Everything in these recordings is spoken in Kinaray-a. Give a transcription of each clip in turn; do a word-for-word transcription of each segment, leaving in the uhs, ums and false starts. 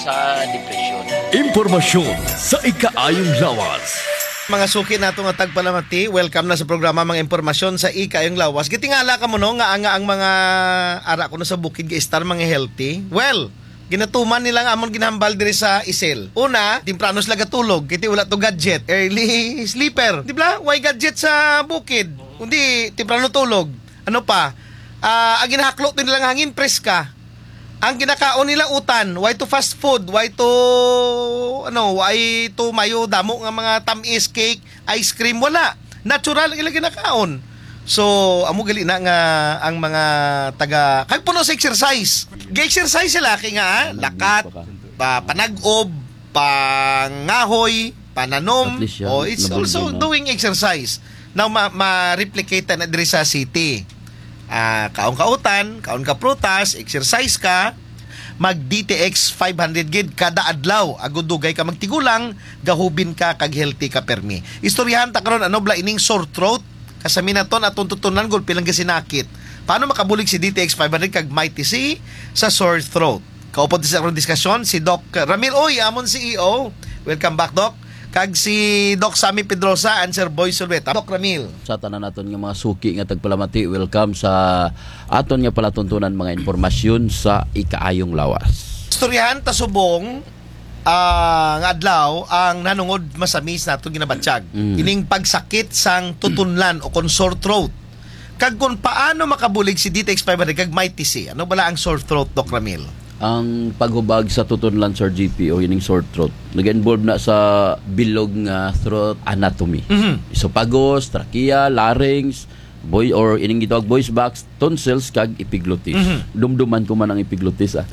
Sa depresyon. Impormasyon sa ikaayong lawas. Mga suki nato nga tagpalamati, welcome na sa programa Mga Impormasyon sa Ikaayong Lawas. Gitingala kamo, no, nga ang, nga ang mga ara kuno sa bukid gaistar mga healthy. Well, ginatuman nila nga amon ginhambal diri sa Isel. Una, temprano sila gatulog, kay ti wala to gadget, early sleeper. Di ba? Way gadget sa bukid. Kundi, temprano tulog. Ano pa? Ah, ang ginahaklo to nila nga hangin, preska. Ang ginakaon nila utan, way to fast food, way to, ano, way to mayo damo nga mga tamis, cake, ice cream, wala. Natural ang ila ginakaon. So, amo gali na nga ang mga taga, kag puno sa exercise. Ga-exercise sila kay nga, ah, lakat, pa, panag-ob, pangahoy, pananom. At least, yeah, oh, it's nabugyo also na. Doing exercise. Now, ma-, ma-replicate na diri sa city. Ah, kaon ka utan, kaon ka prutas, exercise ka, mag D T X five hundred gid kada adlaw. Agud dugay ka magtigulang, gahubin ka, kag healthy ka permi. Istoryahan ta karon, ano bala ining sore throat? Kasami naton atong tutunan, gulpi lang gasinakit. Paano makabulig si D T X five hundred kag Mighty C sa sore throat? Kaupod sa akong diskasyon, si Doc Ramil Uy, amon C E O. Welcome back, Doc. Kag si Doc Sammy Pedrosa, and Sir Boy Sulweta. Doc Ramil. Sa tanan naton nga mga suki nga tagpalamati, welcome sa aton nga palatuntunan mga impormasyon sa ikaayong lawas. Istoryahan ta subong, ah, nga adlaw ang nanungod masami sa aton ginabatyag. Mm. Ining pagsakit sang tutunlan o kon sore throat. Kag kon paano makabulig si D T X five hundred kag Mighty C. Ano bala ang sore throat, Doc Ramil? Ang paghubag sa tutunlan, Sir G P, o ining sore throat, nag-involve na sa bilog nga throat anatomy. Mhm. Esophagus, trachea, larynx, voice, or ining gitawag voice box, tonsils, kag epiglottis. Mhm. Dumduman ko man ang epiglottis, ah.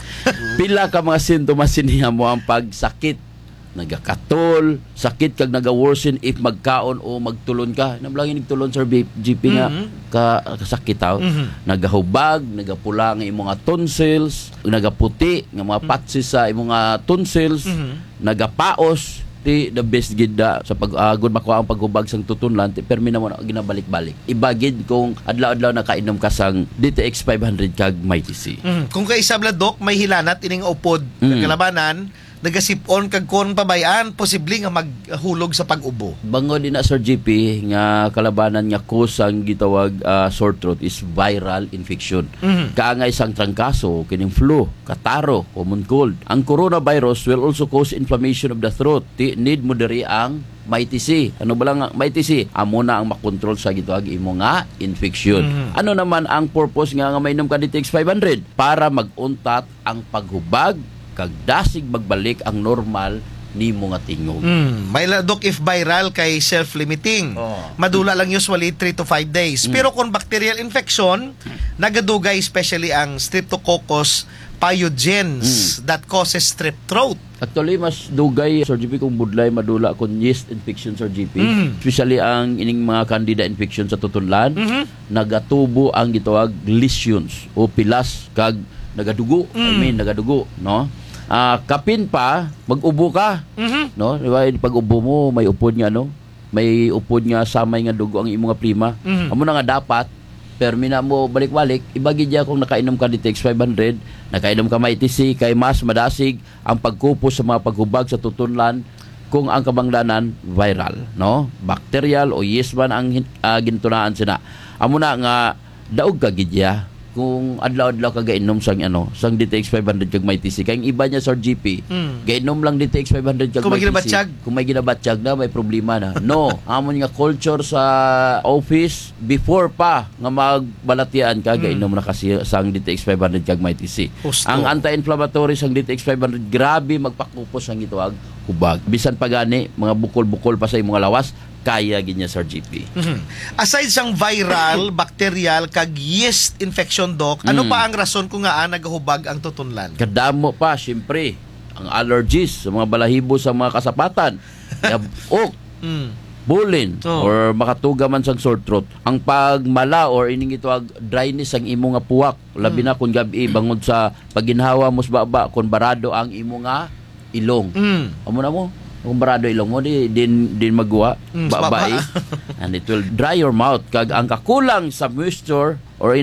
Pila ka mga sintomas ini, amo ang pagsakit, nagakatol, sakit kag naga-worsen if magkaon o magtulon ka. Nablangi nagtulon, Sir B-, G P, nga Mhm. ka-, kasakit, aw. Mhm. Nagahubag, nagapula nga imo nga tonsils, nagaputi nga mga Mhm. patches sa imo nga tonsils, Mhm. nagapaos, ti the best gid da sa pag-, ah, agud makuha ang paghubag sang tutunlan, ti permi namo na ginabalik-balik. Iba gid kung adlaw-adlaw nakainom ka sang D T X five hundred kag Mighty C. Mhm. Kung kaisa bala, Doc, may hilanat ining upod, Mm. kalabanan, nagasip-on kag kon pabay-an, posible nga maghulog sa pag-ubo. Bangod ina, Sir G P, nga kalabanan nga cause sang gitawag, ah, sore throat is viral infection. Mhm. Kaangay sang trangkaso, kining flu, kataro, common cold. Ang coronavirus will also cause inflammation of the throat. Ti need mo diri ang Mighty C. Ano bala nga Mighty C? Amo na ang makontrol sa gitawag imo nga infection. Mhm. Ano naman ang purpose nga, nga mainom ka D T X five hundred? Para mag-untat ang paghubag kag dasig magbalik ang normal nimo nga tingog. Mm, may la, Doc, if viral kay self-limiting. Oo. Madula lang usually three to five days. Mm. Pero kung bacterial infection, nagadugay especially ang Streptococcus pyogenes Mm. that causes strep throat. Actually, mas dugay, Sir G P, kung budlay madula kung yeast infection, Sir G P. Mm. Especially ang ining mga candida infection sa tutunlan. Mhm. Nagatubo ang gitawag lesions o pilas kag nagadugo. I Mm. mean, nagadugo, no? Ah, kapin pa, mag-ubo ka, Mhm. no? Di ba, pag-ubo mo, may upod nga, ano? May upod nga samay nga dugo ang imo nga plema. Mhm. Amo na nga dapat, permi na mo balik-balik, iba gid ya kung nakainom ka D T X five hundred, nakainom ka Mighty C, kay mas madasig ang pagkupos sa mga paghubag sa tutunlan kung ang kabangdanan viral, no? Bacterial o yeast man ang hin-, ah, gintunaan sina. Amo na nga daog ka gid ya kung adlaw-adlaw ka gainom sang, ano, sang D T X five hundred kag Mighty C. Kay ang iba niya, Sir G P, Mm. gainom lang D T X five hundred kag Kung may Mighty C. ginabatyag. Kung may ginabatyag na, may problema na. No, amon nga culture sa office, before pa nga magbalatian ka, Mm. gainom na ka si-, sang D T X five hundred kag Mighty C. Husto. Ang anti-inflammatory sang D T X five hundred, grabe magpakupos sang gitawag hubag. Bisan pa gani, mga bukol-bukol pa sa imo nga lawas, kaya gid niya, Sir G P. Mhm. Aside sang viral, bacterial, kag yeast infection, Doc, ano Mm. pa ang rason kung ngaa nagahubag ang tutunlan? Kadamo pa, siyempre. Ang allergies sa mga balahibo sa mga kasapatan. Yab-ok, Mm. bulin, Oh. or makatuga man sang sore throat. Ang pagmala or ining gitawag dryness ang imo nga puwak. Labi Mm. na kung gab-i, bangod sa pagginhawa mo sa baba, kung barado ang imo nga ilong. Mm. Amo na mo, kung barado ilong mo, di, din, din magwa, Mm, sa baba, baba. Eh. And it will dry your mouth. Kag ang kakulang sa moisture or ini